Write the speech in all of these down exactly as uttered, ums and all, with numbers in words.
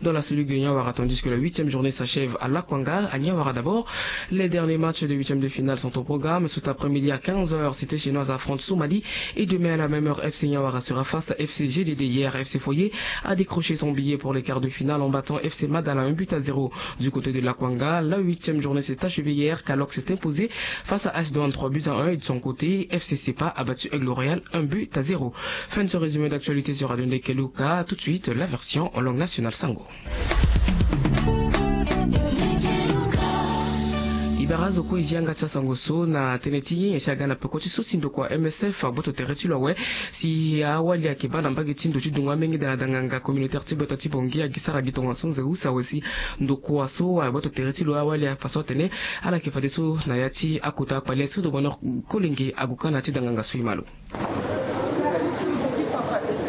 Dans la cellule de Niawara, tandis que la huitième journée s'achève à Lakwanga, à Niawara d'abord. Les derniers matchs de huitième de finale sont au programme. Cet après-midi à quinze heures, Cité Chinoise affronte Somalie. Et demain à la même heure, F C Niawara sera face à F C G D D. Hier, F C Foyer a décroché son billet pour les quarts de finale en battant F C Madala un but à zéro. Du côté de Lakwanga, la huitième journée s'est achevée hier. Kalok s'est imposé face à S Douane trois buts à un. Et de son côté, F C Sepa a battu Aigle Royal un but à zéro. Fin de ce résumé d'actualité sur Radio Ndekeluka. Tout de suite, la version en langue nationale. Sango. E bara azo kue e zi yanga ti asango so na tënë ti nyen si aga na peko ti so si ndokua M S F agboto tere ti lo awe. Si awali ayeke baa na mbage ti ndo ti dungo amenge da na danganga communautaire ti gbata ti Bangui agi sara gi tongaso nze use awe si ndokua so agboto tere ti lo awali afa so atene ala yeke fadeso na ya ti akota akpale. Sirdo Bonheur Kolenge ague kâ na ya ti danganga so e ma lo.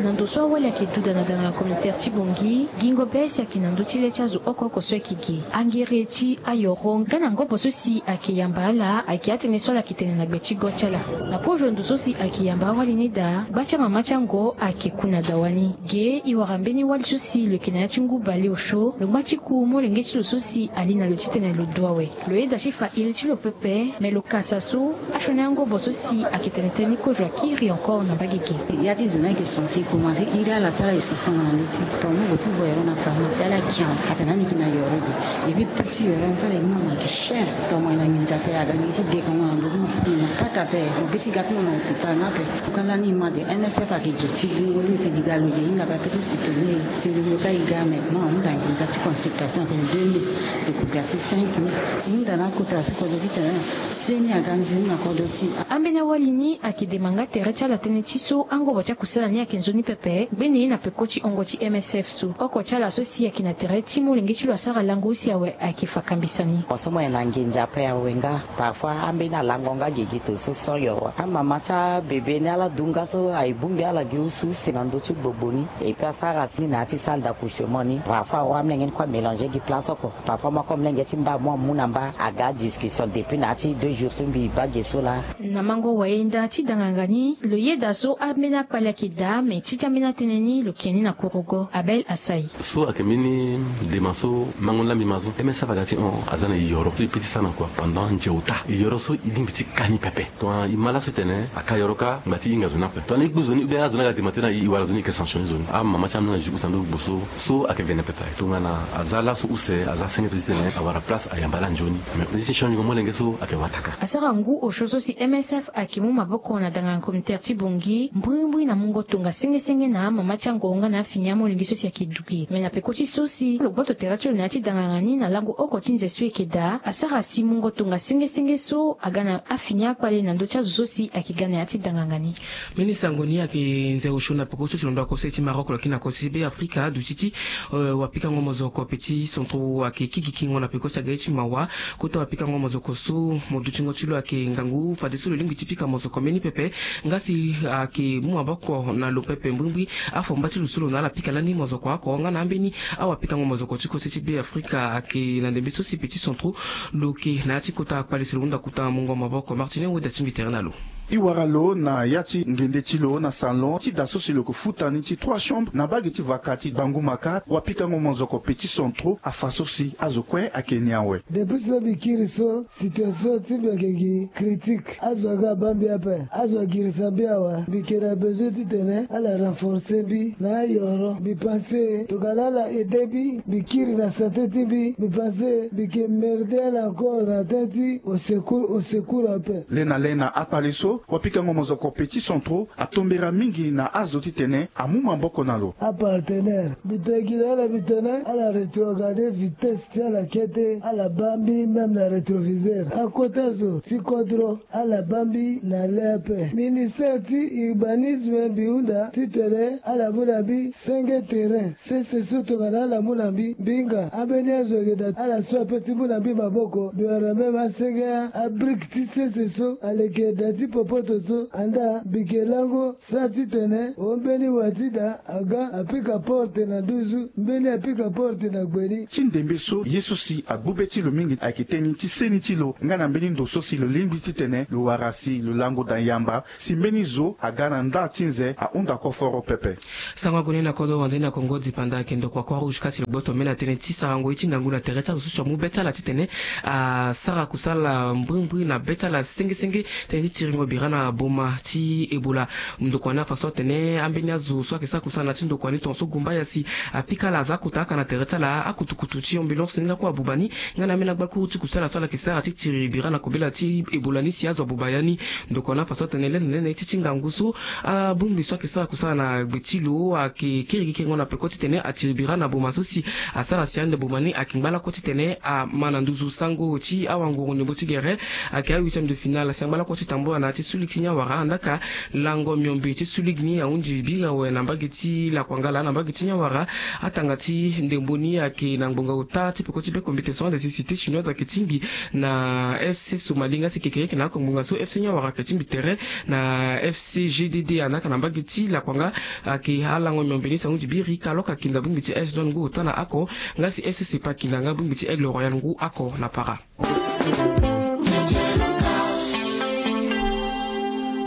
Na ndo so awali ayeke duda na danganga communautaire ti Bangui, gingo be si ayeke na ndö ti le ti azo oko oko so ayeke gi angere ti ayoro nga na ngobo so si ayeke yamba ala ayeke atënë so ala yeke tene na gbe ti go ti ala. Na kozo ndo so si ayeke yamba awali ni daa, gba ti amama ti ango ayeke ku na dawa ni. Ge e wara mbeni wali so si lo yeke na ya ti ngu bale osio, lo ngba ti ku molenge ti lo so si ali na lo titene lo du awe. Lo yeda ti fa iri ti lo pepe, me lo kasa so asioni angobo so si ayeke tene tënë ni kozo akiri encore na mbage ge. Ya ti zo ni ayeke censé e komanse iri ala so ala yeke censé na ndö ti. Tongana mo gue ti voyero na pharmacie ala yeke kian atene ani yeke na yoro ge. Et puis prix ti yoro ni so ala yeke mu na mo ayeke cher. Tongana mo yeke na nginza ape aga gi ti dekongo na ndö ti mo. Mo na pata ape mo gi ti ga ti mo na hôpital ni ape. Tongana lani e ma de M S F ayeke ge ti gungo lo tene e ga lo ge e hinga ape ape ti soutenir e. Si lo lo ka e ga maintenant ahunda nginza ti consultation atene deux mille. Lo ko ga ti cinq mille. E hunda na akota so kodro titene seni aga nzoni na kodro ti e. Ambeni awali ni ayeke dema nga tere ti ala tënë ti so angobo ti akusala ni ayeke nzoni pepe. Ngbene na peko ti hongo ti M S F so oko ti ala so si ayeke na tere ti molenge ti lo asara lango use awe ayeke fa kambisa ni. Mo so mo yeke na nginza ape awe nga. Parfois ambeni alango nga gigi to so sans yoro. Amama ti abebe ni ala du nga so aye bongbi ala gi use use na ndö ti gbogbo ni. Et puis asara si ni na ya ti salle d'accouchement ni. Parfois awa amolenge ni kue amélanger gi place oko. Parfois mo ako molenge ti mba mo amu na mba aga discussion depuis na ya ti deux jours so mbi baa ge so laa. Na mango wayenda ti danganga ni lo yeda so ambeni akpale ayeke daa me ti ti ambeni atënë ni lo ke ni na korogo. Abel Asai. So ayeke mbeni dema so mango ni laa mbi ma so M S F aga ti hon aza na e yoro so e pe ti sara na kua pendant nze ota. E yoro so e lingbi ti ka ni pepe. Tongana e ma laso e tene aka yoro kâ ngba ti hinga zo ni ape. Tongana e gbu zo ni ou bien azo ni aga dema tënë na e, e wara zo ni e yeke sanctionner zo ni. Amama ti amolenge na jeu use na ndo gbo so so ayeke vene pepe. Tongana aza laso use aza senge to titene awara place ayamba ala nzoni. Mais nde ti change molenge so ayeke wataka. Asara ngu osio so si M S F ayeke mu maboko na danganga communautaire ti Bangui mbrimbri na mungo tonga sengesenge na amama ti ango nga na afini amolenge so si ayeke du ge. Me na peko ti so si lo gboto tere ti lo na ya ti danganga ni na lango oko ti nze so e yeke daa asara si mungo tonga sengesenge so aga na afini akpale na ndö ti azo so si ayeke ga na ya ti danganga ni. Mbeni sango ni ayeke nze osio na peko so si lo ndo akose ti Maroc lo yeke na kose ti Be Afrika aduti ti wapikango mozoko Petit Centro ayeke kigi kingo na peko si aga ye ti mawa. Kota wapikango mozoko so mo dutingo ti lo ayeke ngangu fadeso lo lingbi ti pika mozoko mbeni pepe. Nga si ayeke mu maboko na lo pepe mbrimbri afomba ti lo so lo na ala pika lani mozoko oko nga na ambeni awapikango mozoko ti kose ti Be Afrika ayeke na ndembe so si Petit Centro lo yeke na ya ti kota akpale si lo hunda kota mungo maboko. Martine weda ti mbi tere na lo. E wara lo na ya ti ngende ti lo na salon ti da so si lo yeke futa ni ti trois chambres na mbage ti vaka ti Bangumaka. Wapikango mozoko Petit Centro afa so si azo kue ayeke ni awe. Depuis so mbi kiri so situation ti mbi ayeke gi critique. Azo aga abaa mbi ape. Azo agirisa mbi awe. Mbi yeke na besoin titene ala renforcer mbi na ayoro. Mbi pense tongana ala aider mbi, mbi kiri na santé ti mbi. Mbi pense mbi yeke merder ala encore na tënë ti au secours, au secours ape. Lena lena akpale so wapikango mozoko Petit Centro atombera mingi na azo titene amu maboko na lo. Apartenaire, mbi tene gi na ala, mbi tene ala retrogarder vitesse ti ala kete, ala baa mbi même na rétroviseur. Akota zo ti kodro ala baa mbi na le ape. Ministère ti urbanisme mbi hunda titene ala mu na mbi senge terrain. Sese so tongana ala mu na mbi, mbi hinga. Ambeni azo ayeke da ala so ape ti mu na mbi maboko. Mbi wara même asenge abrique ti sese so aleke da ti Poto so andaa bike lango sara titene o mbeni wa ti da aga apika porte na nduzu, mbeni apika porte na gbeni. Ti ndembe so ye so si agbu be ti lo mingi ayeke teni ti seni ti lo nga na mbeni ndo so si lo lingbi titene lo wara si lo lango da yamba si mbeni zo aga na nda ti nze ahunda koforo pepe. Sango ague ni na kodro wande na Kongo dipanda ayeke ndokua Croix Rouge kasi lo gboto mbeni atene ti sarango ye ti ngangu na tere ti azo so si amu be ti ala titene asara kusala mbrimbri na be ti ala sengesenge tënë ti tiringo bira na boma ti Ebola. Ndokua ni afa so atene ambeni azo so ayeke sara kusala na ya ti ndokua ni tongaso gumba ya si apika ala aza akota aka na tere ti ala akutukutu ti ambulance ni nga kue abuba ni nga na ambeni agbakuru ti kusala so ala yeke sara ti tiri bira na kobela ti Ebola ni si azo abuba ya ni. Ndokua ni afa so atene lene lene ti ti ngangu so abongbi so ayeke sara kusala na gbe ti lo ayeke kirigi kiringo na peko titene atiri bira na boma so si asara si ande boma ni ayeke ngba lakue titene ama na nduzu. Sango ti awanguru ndembo ti gere ayeke a huitième de finale si angba lakue ti tambula na ya ti suli ti ni awara andaa ka lango miombe ti suli ni ahunzi biri awe na mbage ti lakuangala na mbage ti ni awara. Atanga ti ndembo ni ayeke na ngbonga ota ti peko ti be compétition des cités chinoises ayeke tingbi na FC Somali nga si kekereke na oko ngbonga so FC ni awara ayeke tingbi tere na FC GDD andaa ka na mbage ti lakuanga. Ayeke alango miombe ni si ahunzi biri Kalok akinda bongbi ti AS Douanes ngu ota na oko nga si FC Sepa akinda nga bongbi ti Aigle Royal ngu oko na para.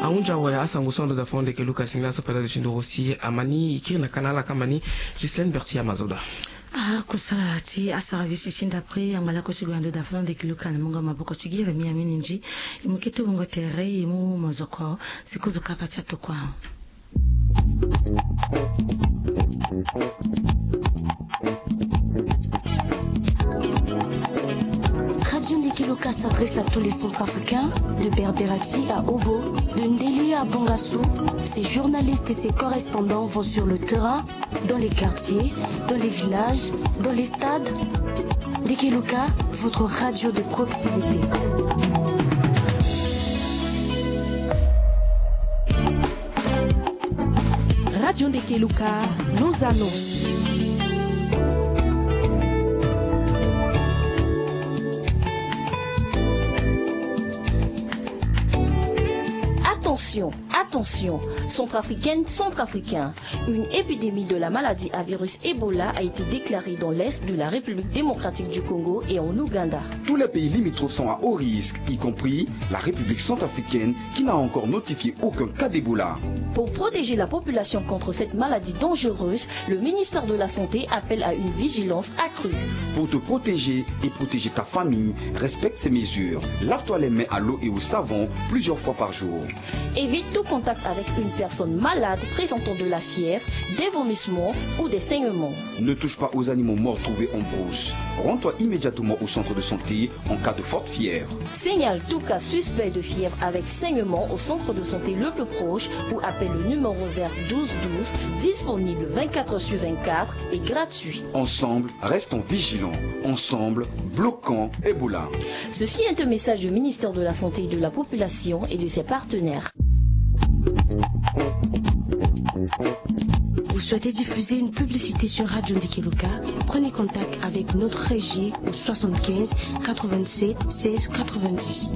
Ahunzi awe asango so ando da fo ndeke Luka singila so fada de ti ndoro si ama ni e kiri na ka na ala kamba ni. Gislaine Berti Amazoda. Akusala ti asara visi ti ndapre angba lakue ti gue ando da fo ndeke Luka na mungo maboko ti gi Yeremia Minindji. E mu kete wungo tere e mu mozoko si kozo kapa ti atokua. Radio Ndeke Luka s'adresse à tous les Centrafricains, de Berberati à Obo, de Ndélé à Bangassou. Ses journalistes et ses correspondants vont sur le terrain, dans les quartiers, dans les villages, dans les stades. Ndeke Luka, votre radio de proximité. Radio Ndeke Luka, nos annonces. Attention, attention, Centrafricaine, Centrafricain, une épidémie de la maladie à virus Ebola a été déclarée dans l'est de la République démocratique du Congo et en Ouganda. Tous les pays limitrophes sont à haut risque, y compris la République centrafricaine, qui n'a encore notifié aucun cas d'Ebola. Pour protéger la population contre cette maladie dangereuse, le ministère de la Santé appelle à une vigilance accrue. Pour te protéger et protéger ta famille, respecte ces mesures. Lave-toi les mains à l'eau et au savon plusieurs fois par jour. Évite tout contact avec une personne malade présentant de la fièvre, des vomissements ou des saignements. Ne touche pas aux animaux morts trouvés en brousse. Rends-toi immédiatement au centre de santé en cas de forte fièvre. Signale tout cas suspect de fièvre avec saignement au centre de santé le plus proche ou appelle le numéro vert douze douze, disponible vingt-quatre heures sur vingt-quatre et gratuit. Ensemble, restons vigilants. Ensemble, bloquons Ebola. Ceci est un message du ministère de la Santé et de la Population et de ses partenaires. Vous souhaitez diffuser une publicité sur Radio Ndeke Luka ? Prenez contact avec notre régie au soixante-quinze quatre-vingt-sept seize quatre-vingt-dix.